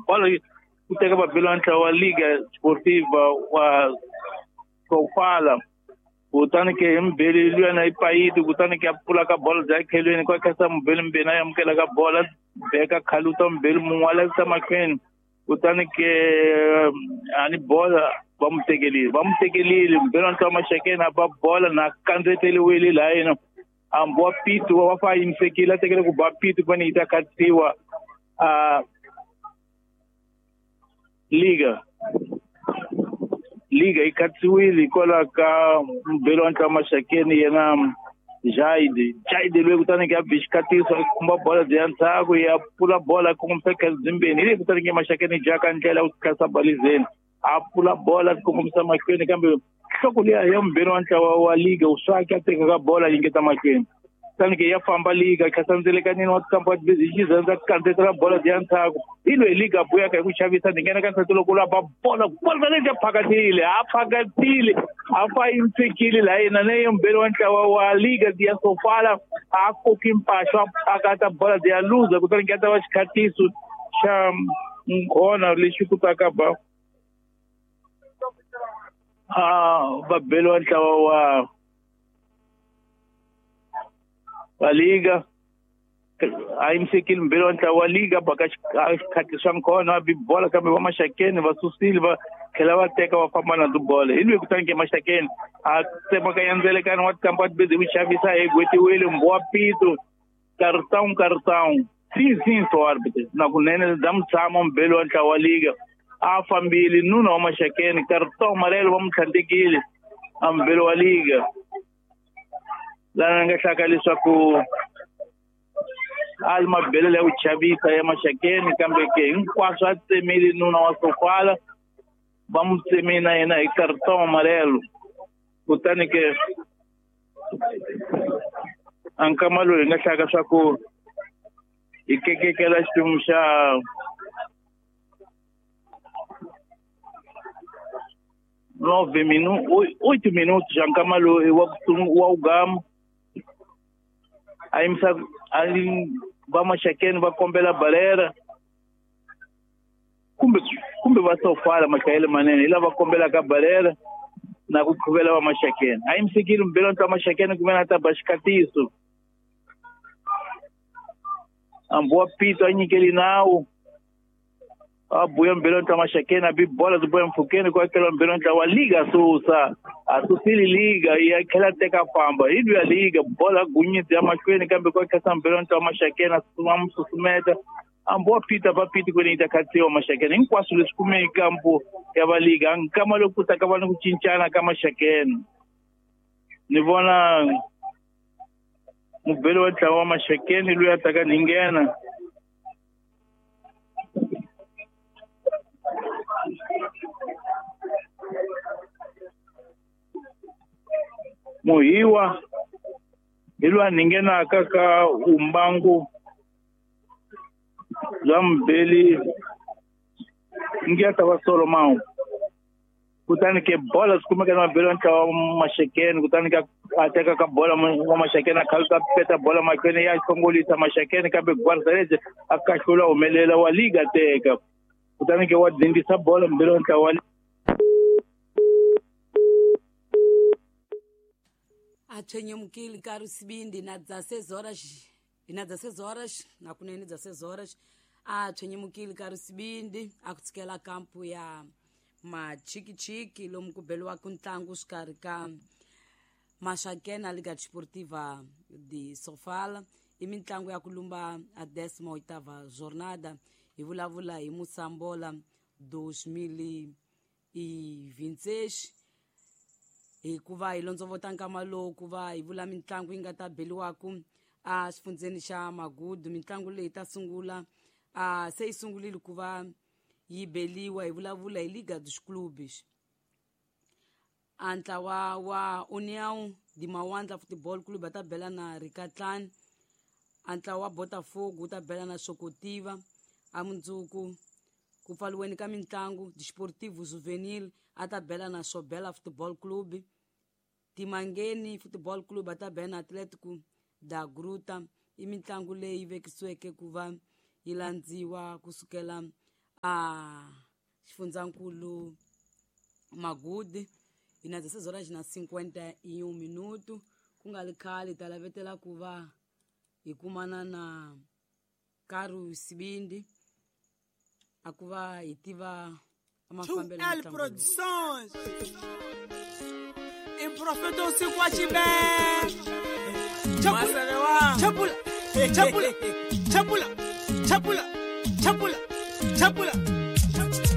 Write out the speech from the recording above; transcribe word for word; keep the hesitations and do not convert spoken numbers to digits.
Bolo ku teka vabeli wa ntlawa wa Liga Sportiva wa Sofala. Kutani ke hi mubeli luyana i payiti kutani ke a pfula ka bolo bya khelweni kwa khasa mubeli mbeni a amukela ka bola beka khaluta mubeli mun'we a lavisa mahlweni kutani ke ani bola va mu tekelile va mu tekelile mubeli wa ntlawa Maxakeni a ba bola na kandzeteriwile laha yena hambi wa Pitu wa fa yimisekile a tekele ku ba Pitu kumbe yi ta khatsiwa a Liga Liga yi khatsiwile hikwalaho ka mubeli wa ntlawa Maxakeni yena Jaide Jaide loyi kutani ke a bi xikhatiso a khumba bola bya ndzhaku ya pfula bola kongomisa khazimbeni hi leyi kutani ke Maxakeni jaka ndlela ku khasa balizeni a pfula bola kongomisa mahlweni kambe nhloko liya ya mubeli wa ntlawa wa Liga u swaki a teka ka bola yingeta mahlweni kutani ke ya famba Liga khasa ndzelekanini wa tikampa hi xizandza kandzetela bola bya ndzhaku hi loyi Liga buyaka hi ku xavisa ni nghena ka nsati loko la ba bola bola leyi phakatile a phakatile a fa yimisekile laha yena ne mubeli wa ntlawa wa Liga ya Sofala a koki mpaxo a phakata bola ya luza kutani ke ta va xikhatiso xa nkhona lexi kutaka ba a vabeli wa ntlawa wa wa Liga a yimisekile mubeli wa ntlawa wa Liga baka xikhati swa nkhona a bi bola kambe va Maxakeni va susile va tlhela va teka va famba na tibola hi loyi kutani ke Maxakeni a tsemaka ndzelekani wa tikampa tibezi ku xavisa hi gwetiwile mbuwa Pitu cartão cartão sim sim so árbitro na kunene bya mutshama mubeli wa ntlawa wa Liga a fambile nuna wa Maxakeni cartão amarelo va mu tlhandlekile a mubeli wa Liga lana nga hlaka leswaku a li mabelelo ya ku chavisa ya Maxakeni kambe ke hinkwaswo a tsemile nuna wa Sofala va mu tsemile na yena hi cartão amarelo kutani ke a nkama loyi hi nga hlaka swa ku hi kekekela xiphemu xa nove minutos oito minutos xa nkama loyi wa wa ugama a yimisa a va Maxakeni va kombela balera kumbe kumbe va Sofala machayele manene hi lava kombelaka balera na ku qhuvela va Maxakeni a yimisekile mubeli wa ntlawa Maxakeni kumbe na ta ba xikhatiso hambi wa Pitu a nyikeli nawu a buya mubeli wa ntlawa Maxakeni a bi bola ti buya mpfhukeni ku akela mubeli wa ntlawa wa Liga susa a susile Liga ya tlhela teka famba hi luya Liga bola gunyidzi ya mahlweni kambe ku akhesa mubeli wa ntlawa Maxakeni a mu susumeta hambi wa Pitu a ba Pitu kwene yi ta khatsiwa Maxakeni hinkwaswo leswi kumeke kampo ya va Liga nkama loku ku ta ka va ni ku cincana ka Maxakeni ni vona mubeli wa ntlawa wa Maxakeni loyi a taka ni nghena Muhiwa hi loyi a nghenaka ka umbangu bya mubeli ngi ya ta va Solomon kutani ke bola swi kumeka na mubeli wa ntlawa wa Maxakeni kutani ka a teka ka bola wa Maxakeni a khaluta peta bola mahlweni ya hlongolisa Maxakeni kambe Guardarese a kahlula humelela wa Liga teka kutani ke wa dindisa bola mubeli wa ntlawa wa a tshwenyemukile nkarhi sibindi na dezesseis horas na dezesseis horas na kunene dezesseis horas a tshwenyemukile nkarhi sibindi a ku tshikela kampu ya machikichiki lomu ku beliwaka ntlangu xikarhi ka Maxakeni na Liga Desportiva de Sofala i mitlangu ya ku lumba a décima oitava jornada hi vulavula hi Moçambola dois mil e vinte e seis hikuva hi londzovota nkama lowu ku va hi vula mitlangu yi nga ta beliwaku a xifundzeni xa Magudu mitlangu leyi ta sungula a se yi sungulile ku va yi beliwa hi vulavula hi Liga dos Clubes a ntlawa wa União de Mawandla Futebol Clube va ta bela na Rikatlani a ntlawa wa Botafogo wu ta bela na Sokotiva a mundzuku ku pfaliweni ka mitlangu Desportivo Juvenil a ta bela na Sobela Futebol Clube Timangeni Futebol Clube a ta bela na Atlético da Gruta i mitlangu leyi vekisiweke ku va yi landziwa kusukela A xifundzankulu Magude hi na dezesseis horas na cinquenta e um minuto ku nga ri khale ta lavetela ku va hi kumana na Karu Sibindi a ku va hi tiva mafambelo ya L ntlangu lowu. Produções. Em profeta usiku wa chibe. Chapula, chapula, chapula, chapula, chapula, chapula, chapula.